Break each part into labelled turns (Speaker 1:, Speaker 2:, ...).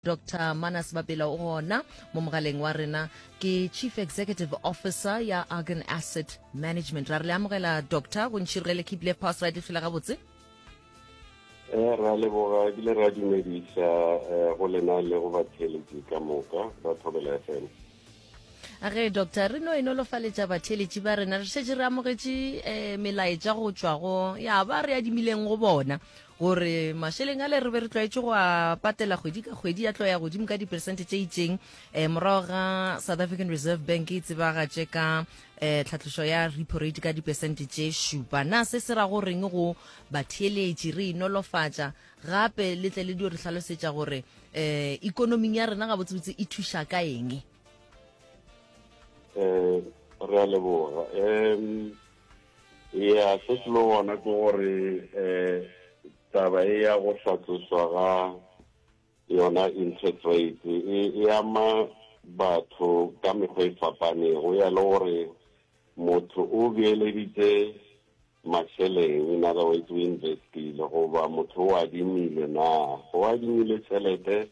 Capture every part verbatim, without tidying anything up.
Speaker 1: Doctor Manas Bapela o gona mo mogaleng wa rena, ke Chief Executive Officer ya Argon Asset Management. Ra re le amogela Doctor, go ntšhirogele keep left pass right le gabotse.
Speaker 2: Eh ra leboga ebile ra dumedisa eh, go lena le go batheeletši ka moka ba Thobela F M.
Speaker 1: A ge doctor re no e nolofaletša batheeletši ba rena, re šetše re amogetše eh, melaetša go tšwa go ya ba re adimileng go bona gore mašeleng a le re be re tlwaetše go a patela kgwedi ka kgwedi ya tlo ya godimo ka diperesente tše itšeng eh, morago ga South African Reserve Bank e tsebagatše ka eh, tlhatlošo ya repo rate ka diperesente tše šupa. Na se se ra go reng go batheeletši re inolofatša gape le tle le dio re hlalosetša gore eh, ikonoming ya rena gabotsebotse e thuša ka eng?
Speaker 2: Eh re a leboga. Em ya se se le gona ke gore eh taba e ya go hlatlošwa ga yona interest rate e e ama batho ka mekgwa e fapanego, ya le gore motho o beeleditse mašeleng, in other words o investile, goba motho o adimile na o adimile tšhelete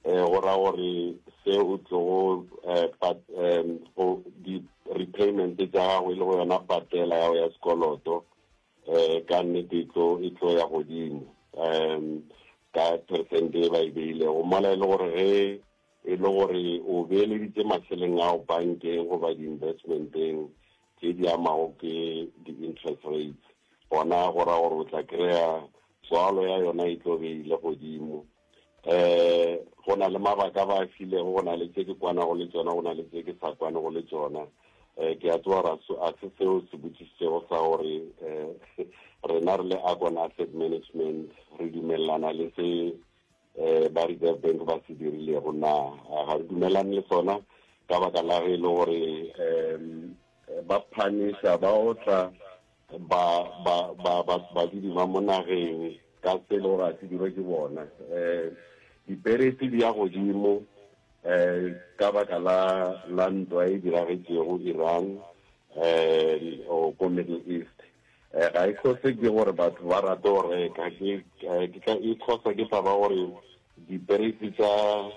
Speaker 2: eh go ra gore se o tlogo eh pat em go di repayment tša gago e le go yona patela ya go ya sekoloto eh ka nnete e tlo e tlo ya godimo em ka percent e ba e beilego mola e le gore ge e le gore o beeleditse mašeleng ao bankeng goba di-investmenteng tše di amago ke di-interest rates, gona go ra gore o tla kry-a tswalo ya yona e tlo be ile godimo. Eh go na le mabaka ba a filego, go na le tše ke kwanago le tšona, go na le tše ke sa kwanego le tšona. Eh ke a tseba gore a se seo se botšišitšego sa gore eh rena re le Argon Asset Management re dumelelana le se eh ba Reserve Bank ba se dirilego na, ga re dumelane le sona ka baka la ge e le gore um ba phanisha ba otla ba ba ba ba badudi ba mo nageng ka se le gore a se dirwe ke bona. Eh diperesi di ya godimo eh ka baka la la ntwa e diragetšego Iran eh o ko Middle East. Eh ga e cause ke gore batho ba rate go reka, ke ke ka e cause ke taba gore diperesi tsa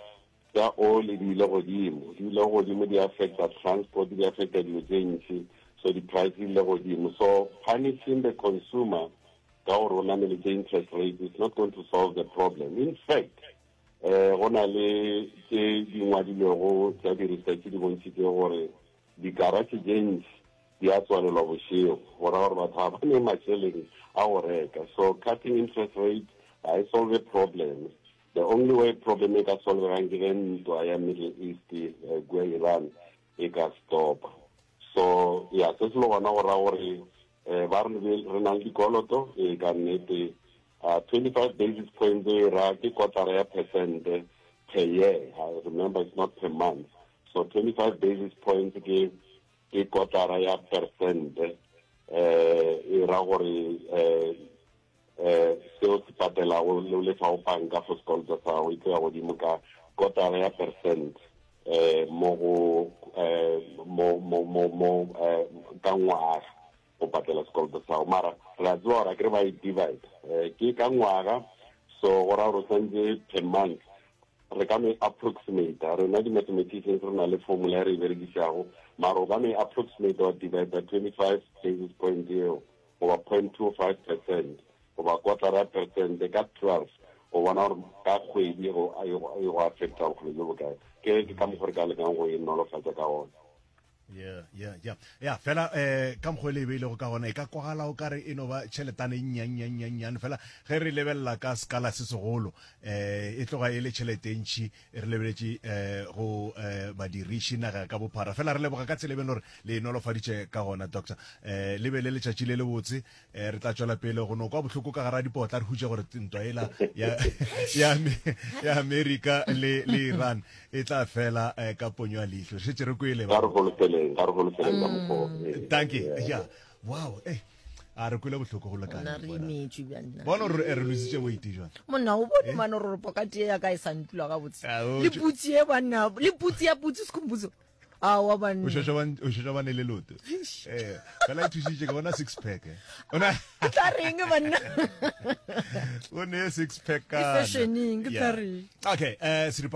Speaker 2: tsa oli di ile godimo, di ile godimo di affecta transport, di affecta dilo tše ntši, so di-price di ile godimo. So punishing the consumer ka gore o nameletše interest rate is not going to solve the problem. In fact eh go na le tše di ngwadilwego tša di-research di bontšhitše gore di-garage tše ntši di a tswalelwa bošego, go ra gore batho ga ba ne mašeleng a go reka. So cutting interest rate ga e solve problem. The only way problem e ka solvegang ke ge ntwa ya Middle East eh, kua Iran e ka stopa. So ya se se le gona go ra gore eh ba re re na le dikoloto e ka nnete uh, twenty-five basis points e ra ke kotara ya percent per year. I remember it's not per month. So twenty-five basis points ke ke kotara ya percent eh e ra gore eh eh seo se patelago le lefa go banka for sekoloto sa gago e tlo ya godimo ka kotara ya percent eh mo go eh mo mo mo mo eh ka ngwaga go patela sekoloto sa gago. Mara re a tseba gore akere ba e divide eh ke ka ngwaga, so go ra gore o santse per month re ka no e approximate. Rena di-mathematicians re na le formula e re e berekišago, mara o ka no e approximate wa divide twenty-five basis point eo goba point two five percent goba kotara ya percent ka twelve, go bona gore ka kgwedi go e go affecta bokgole bjo bokae. Ke ke ka mokgwa re ka lekang go e nolofatša ka gona.
Speaker 3: Yeah, yeah, yeah. Yeah, fela eh ka mokgwa le e beilego ka gona e ka kwagala o kare e no ba tšheletane e nnyannyannyane, fela ge re lebelela ka sekala se segolo eh e tloga e le tšhelete e ntši re lebeletše eh go eh badiriši naga ka bophara. Fela re leboga ka tsela e beng gore le e nolofaditše ka gona doctor. Eh le be le letšatši le lebotse, eh re tla tšwela pele go no kwa bohloko ka gara dipotla, re hutše gore ntwa ela ya ya ya America le le Iran e tla fela eh, ka ponyo ya leihlo. Šetše re kwele
Speaker 2: ba. Ga re holofeleng, ga re holofeleng ka mokgwa.
Speaker 3: Thank you. Yeah. Wow, eh a re kwele bohloko go lekana.
Speaker 1: Nna re imetšwe bjang nna.
Speaker 3: Bona gore re lositše weight jwang.
Speaker 1: Monna o bone mane gore pokati ya ka e sa ntula gabotse. Le putsi e banna, le putsi ya putsi Sikhumbuzo. Aowa banna.
Speaker 3: O šetše ba o šetše ba ne le loto. Eh, fela e thušitše ke bona six pack. Eh. Ona
Speaker 1: Ke tla reng banna?
Speaker 3: O ne six pack
Speaker 1: Ke
Speaker 3: kana.
Speaker 1: fashioning, ke tla
Speaker 3: Yeah.
Speaker 1: reng?
Speaker 3: Okay, eh seripa